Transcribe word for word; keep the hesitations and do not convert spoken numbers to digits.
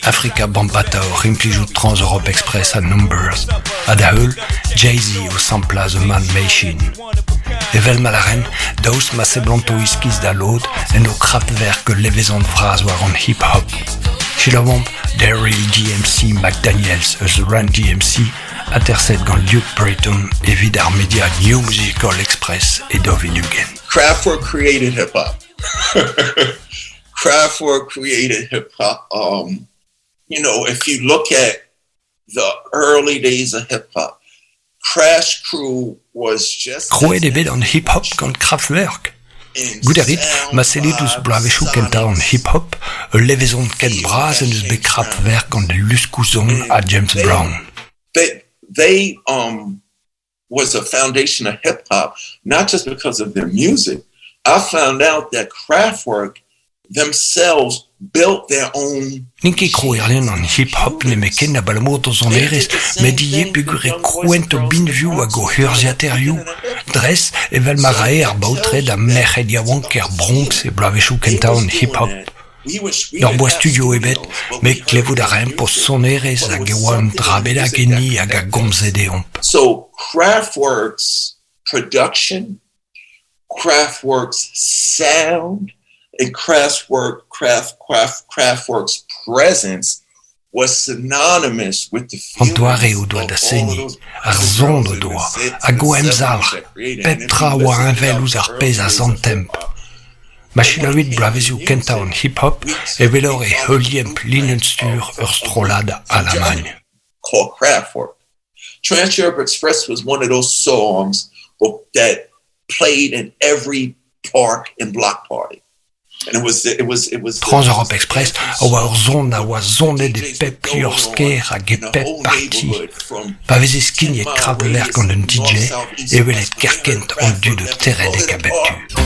Afrika Bambaataa oc'h implijout Trans-Europe Express ha Numbers, ha da heul Jay-Z o samplañ The Man Machine. Evel ma lâren, daoust ma seblanto iskis da lod en o Kraftwerk ul levezon vras war an hip-hop. Selaouomp Daryl D M C McDaniels eus Run D M C, aterset gant Luke Brayton evit ar media New Musical Express e daou vil ugent. Kraftwerk created hip-hop. Kraftwerk created hip-hop. Um, you know, if you look at the early days of hip-hop, Crash Crew was just... Krouet eo bet an hip-hop gant Kraftwerk. Goût a rit, ma sellit ouzh bloavezhioù kentañ an hip-hop, ul levezon ken bras en deus bet Kraftwerk gant luskoù-son ha James Brown. They, they, um, was a foundation of hip-hop, not just because of their music. I found out that Kraftwerk themselves built their own... N'int ket krouerien an hip-hop nemetken abalamour d'o sonerezh, met ivez peogwir e krouent o binvioù hag o urzhiataerioù. Dres evel ma rae ar baotred ha merc'hed yaouank er Bronx e bloavezhioù kentañ an hip-hop. N'hor boa studio ebet, met klevout a raemp o sonerezh hag e oa un dra bennak enni hag a gomze deomp. So Kraftwerk's production, Kraftwerk's sound, and Kraftwerk, Kraft, Kraft, Kraftwerk's presence was synonymous with the An doare o doa of da all seniñ, those ar girls son in o the doa, six hag o and seven emzalc'h, that created. pep And if tra you oa listen to heñvel the ouzh ar early pezh a days of zantemp. hip-hop, Ma selaouit bloavezioù kentañ an hip-hop, e welor e heuliemp linenn-stur ur strollad Alamagn. Called Kraftwerk. Trans-Europe Express was one of those songs that played in every park and block party. And it was, it was, it was Trans-Europe Express a oa ur zon a oa zonet e pep liorzh-kêr hag e pep parti. Pa veze skignet Kraftwerk gant un D J, e welet kerkent an dud o teredek a bep tu.